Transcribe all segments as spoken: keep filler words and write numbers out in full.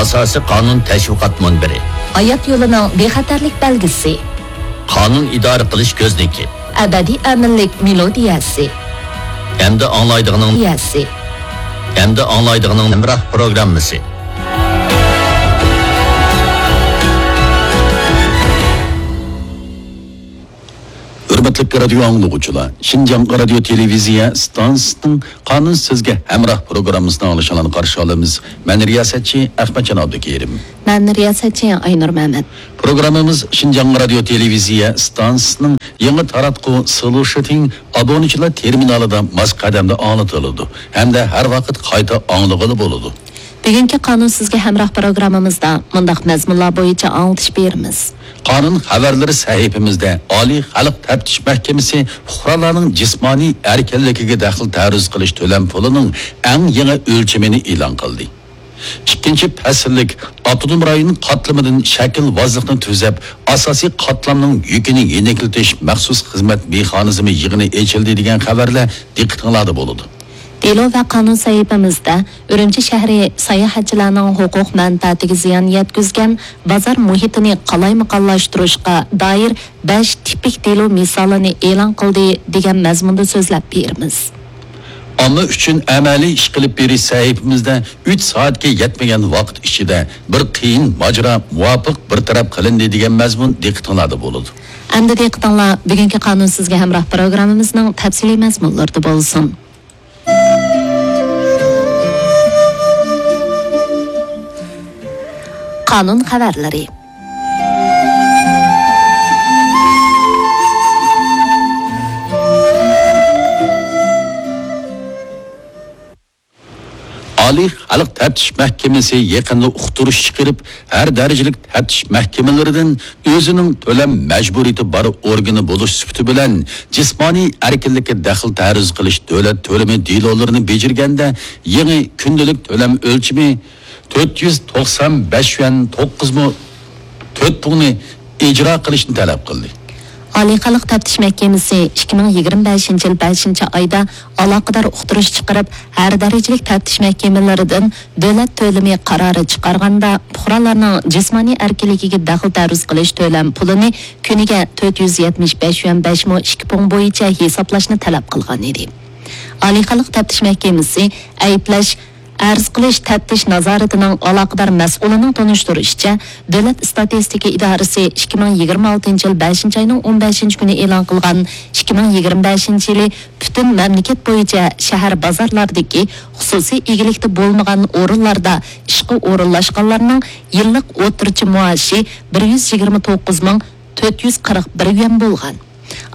ئاساسىي قانۇن تەشۋىقات مۇنبىرى. ھايات يولىنىڭ بىخەتەرلىك بەلگىسى. قانۇن ئىدارە قىلىش كۆزنىكى. ئەبەدىي ئەمىنلىك مېلودىيەسى. ئەمدى ئاڭلايدىغىنىڭ يەسى. ئەمدى ئاڭلايدىغىنىڭ ھەمراھ پروگراممىسى. ھۆرمەتلىك رادىيو ئاڭلىغۇچىلار، شىنجاڭ رادىيو تېلېۋىزىيە ئىستانسىسىنىڭ قانۇن سىزگە ھەمراھ پروگراممىسىنى ئاڭلىشىڭلارنى قارشى ئالىمىز. مەن رىياسەتچى ئەخمەتجان ئابدۇكېرىم. مەن رىياسەتچى ئاينۇر مەمەت. پروگراممىمىز شىنجاڭ رادىيو تېلېۋىزىيە ئىستانسىسىنىڭ يېڭى تاراتقۇ سولۇشىتىڭ ئابۇنىچىلار تېرمىنالىدا ماس قەدەمدە ئاڭلىتىلىدۇ ھەمدە ھەر ۋاقىت قايتا ئاڭلىغىلى بولىدۇ. بۈگۈنكى قانۇن سىزگە ھەمراھ پروگراممىمىزدا مۇنداق مەزمۇنلار بويىچە ئاڭلىتىش بېرىمىز. قانۇن خەۋەرلىرى سەھىپىمىزدە ئالىي خەلق تەپتىش مەھكىمىسى پۇقرالارنىڭ جىسمانىي ئەركىنلىكىگە دەخلى تەرۇز قىلىش تۆلەم پۇلىنىڭ ئەڭ يېڭى ئۆلچىمىنى ئېلان قىلدى. ئىككىنچى پەسىللىك ئاپتونوم رايون قاتلىمىدىن شەكىلۋازلىقنى تۈزەپ، ئاساسىي قاتلامنىڭ يۈكىنى يېنىكلىتىش مەخسۇس خىزمەت مېخانىزمى يىغىنى ئېچىلدى دېگەن خەۋەرلەر دىققىتىڭلاردا بولىدۇ. دېلو ۋە قانۇن سەھىپىمىزدە ئۈرۈمچى شەھىرى ساياھەتچىلەرنىڭ ھوقۇق مەنپەئەتىگە زىيان يەتكۈزگەن بازار مۇھىتىنى قالايمىقانلاشتۇرۇشقا دائىر بەش تىپىك دېلو مىسالىنى ئېلان قىلدى دېگەن مەزمۇندا سۆزلەپ بېرىمىز. ئامما ئۈچۈن ئەمەلىي ئىش قىلىپ بېرىش سەھىپىمىزدە ئۈچ سائەتكە يەتمىگەن ۋاقىت ئىچىدە بىر قىيىن ماجىرا مۇۋاپىق بىر تەرەپ قىلىندى دېگەن مەزمۇن دىققىتىڭلاردا بولىدۇ. ئەمدى دىققىتىڭلار بۈگۈنكى قانۇن سىزگە ھەمراھ پروگراممىمىزنىڭ تەپسىلىي مەزمۇنلىرىدا بولسۇن. قانۇن خەۋەرلىرى. ئالىي خەلق تەپتىش مەھكىمىسى يېقىندا ئۇقتۇرۇش چىقىرىپ، ھەر دەرىجىلىك تەپتىش مەھكىمىلىرىدىن ئۆزىنىڭ تۆلەم مەجبۇرىيىتى بار ئورگىنى بولۇش سۈپىتى بىلەن، جىسمانىي ئەركىنلىككە دەخلى تەرۇز قىلىش دۆلەت تۆلىمى دېلولىرىنى بېجىرگەندە، يېڭى كۈندىلىك تۆلەم ئۆلچىمى تۆت يۈز توقسان بەش يۈەن توققۇز مو تۆت پۇڭنى ئىجرا قىلىشنى تەلەپ قىلدى. ئالىي خەلق تەپتىش مەھكىمىسى ئىككى مىڭ يىگىرمە بەشىنچى يىل بەشىنچى ئايدا ئالاقىدار ئۇقتۇرۇش چىقىرىپ، ھەر دەرىجىلىك تەپتىش مەھكىمىلىرىدىن دۆلەت تۆلىمى قارارى چىقارغاندا، پۇقرالارنىڭ جىسمانىي ئەركىنلىكىگە دەخلى تەرۇز قىلىش تۆلەم پۇلىنى كۈنىگە تۆت يۈز يەتمىش بەش يۈەن بەش مو ئىككى پۇڭ بويىچە ھېسابلاشنى تەلەپ قىلغان ئىدى. ئالىي خەلق تەپتىش مەھكىمىسى ئەيىبلەش، ئەرز قىلىش تەپتىش نازارىتىنىڭ ئالاقىدار مەسئۇلىنىڭ تونۇشتۇرۇشىچە، دۆلەت ئىستاتىستىكا ئىدارىسى ئىككى مىڭ يىگىرمە ئالتىنچى يىل بەشىنچى ئاينىڭ ئون بەشىنچى كۈنى ئېلان قىلغان ئىككى مىڭ يىگىرمە بەشىنچى يىلى پۈتۈن مەملىكەت بويىچە شەھەر بازارلاردىكى خۇسۇسىي ئىگىلىكتە بولمىغان ئورۇنلاردا ئىشقا ئورۇنلاشقانلارنىڭ يىللىق ئوتتۇرىچە مائاشى بىر يۈز يىگىرمە توققۇز مىڭ تۆت يۈز قىرىق بىر يۈەن بولغان.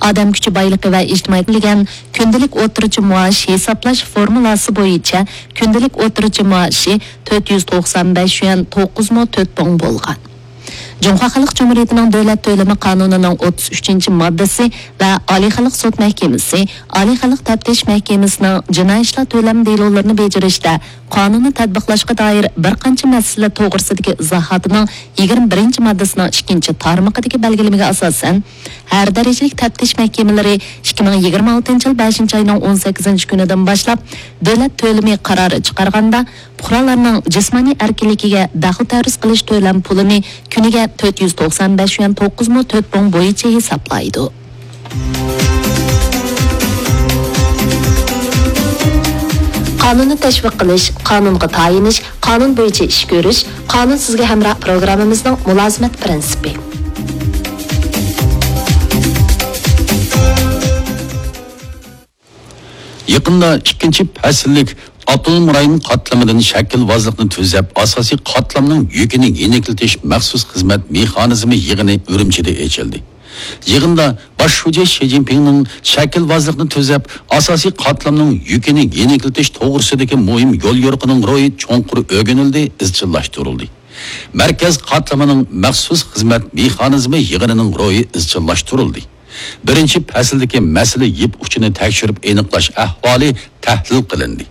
ئادەم كۈچى بايلىقى ۋە ئىجتىمائىي كۈندىلىك ئوتتۇرىچە مائاش ھېسابلاش فورمۇلاسى بويىچە كۈندىلىك ئوتتۇرىچە مائاشى تۆت يۈز توقسان بەش يۈەن توققۇز مو تۆت پۇڭ بولغان. جۇڭخۇا خەلق جۇمھۇرىيىتىنىڭ دۆلەت تۆلىمى قانۇنىنىڭ ئوتتۇز ئۈچىنچى ماددىسى ۋە ئالىي خەلق سوت مەھكىمىسى، ئالىي خەلق تەپتىش مەھكىمىسىنىڭ جىنايى ئىشلار تۆلەم دېلولىرىنى بېجىرىشتە قانۇننى تەتبىقلاشقا دائىر بىر قانچە مەسىلە توغرىسىدىكى ئىزاھاتىنىڭ يىگىرمە بىرىنچى ماددىسىنىڭ ئىككىنچى تارمىقىدىكى بەلگىلىمىگە ئاساسەن، ھەر دەرىجىلىك تەپتىش مەھكىمىلىرى ئىككى مىڭ يىگىرمە ئالتىنچى يىل بەشىنچى ئاينىڭ ئون سەككىزىنچى كۈنىدىن باشلاپ دۆلەت تۆلىمى قارارى چىقارغاندا، پۇقرالارنىڭ جىسمانىي ئەركىنلىكىگە دەخلى تەرۇز قىلىش تۆلەم پۇلىنى كۈنىگە تۆت يۈز توقسان بەش يۈەن توققۇز مو تۆت پۇڭ بويىچە ھېسابلايدۇ. قانۇننى تەشۋىق قىلىش، قانۇنغا تايىنىش، قانۇن بويىچە ئىش كۆرۈش، قانۇن سىزگە ھەمراھ پروگراممىمىزنىڭ مۇلازىمەت پىرىنسىپى. يېقىندا ئىككىنچى پەسىللىك ئاپتونوم رايون قاتلىمىدىن شەكىلۋازلىقنى تۈزەپ، ئاساسىي قاتلامنىڭ يۈكىنى يېنىكلىتىش مەخسۇس خىزمەت مېخانىزمى يىغىنى ئۈرۈمچىدە ئېچىلدى. يىغىندا باش شۇجى شى جىنپىڭنىڭ شەكىلۋازلىقنى تۈزەپ، ئاساسىي قاتلامنىڭ يۈكىنى يېنىكلىتىش توغرىسىدىكى مۇھىم يوليورۇقىنىڭ روھى چوڭقۇر ئۆگىنىلدى، ئىزچىللاشتۇرۇلدى. مەركەز قاتلىمىنىڭ مەخسۇس خىزمەت مېخانىزمى يىغىنىنىڭ روھى ئىزچىللاشتۇرۇلدى. بىرىنچى پەسىلدىكى مەسىلە يىپ ئۇچىنى تەكشۈرۈپ ئېنىقلاش ئەھۋالى تەھلىل قىلىندى.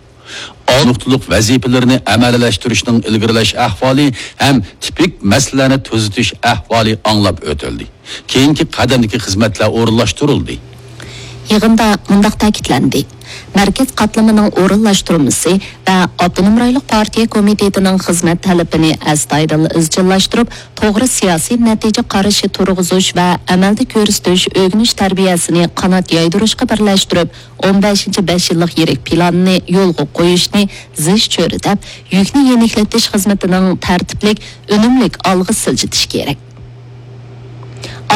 ئالدى نۇقتىلىق ۋەزىپىلىرىنى ئەمەلىيلەشتۈرۈشنىڭ ئىلگىرىلەش ئەھۋالى ھەم تىپىك مەسىلىلەرنى تۈزىتىش ئەھۋالى ئاڭلاپ ئۆتۈلدى. كېيىنكى قەدەمدىكى خىزمەتلەر ئورۇنلاشتۇرۇلدى. يىغىندا مۇنداق تەكىتلەندى: مەركەز قاتلىمىنىڭ ئورۇنلاشتۇرمىسى ۋە ئاپتونوم رايونلۇق پارتىيە كومىتېتىنىڭ خىزمەت تەلىپىنى ئەستايىدىل ئىزچىللاشتۇرۇپ، توغرا سىياسىي نەتىجە قارىشى تۇرغۇزۇش ۋە ئەمەلدە كۆرسىتىش ئۆگىنىش تەربىيەسىنى قانات يايدۇرۇشقا بىرلەشتۈرۈپ، ئون بەشىنچى بەش يىللىق يىرىك پىلانىنى يولغا قويۇشنى زىچ چۆرىدەپ، يۈكنى يېنىكلىتىش خىزمىتىنىڭ تەرتىپلىك، ئۈنۈملۈك ئالغا سىلجىتىش كېرەك.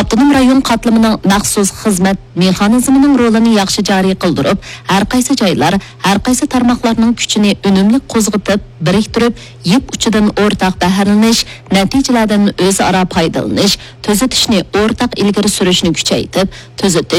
ئاپتونوم رايون قاتلىمىنىڭ مەخسۇس خىزمەت مېخانىزمىنىڭ رولىنى ياخشى جارى قىلدۇرۇپ، ھەرقايسى جايلار، ھەرقايسى تارماقلارنىڭ كۈچىنى ئۈنۈملۈك قوزغىتىپ، بىرىكتۈرۈپ، يىپ ئۇچىدىن ئورتاق بەھرىلىنىش، نەتىجىلەردىن ئۆزئارا پايدىلىنىش، تۈزىتىشنى ئورتاق ئىلگىرى سۈرۈشنى كۈچەيتىپ، تۈزىتىش،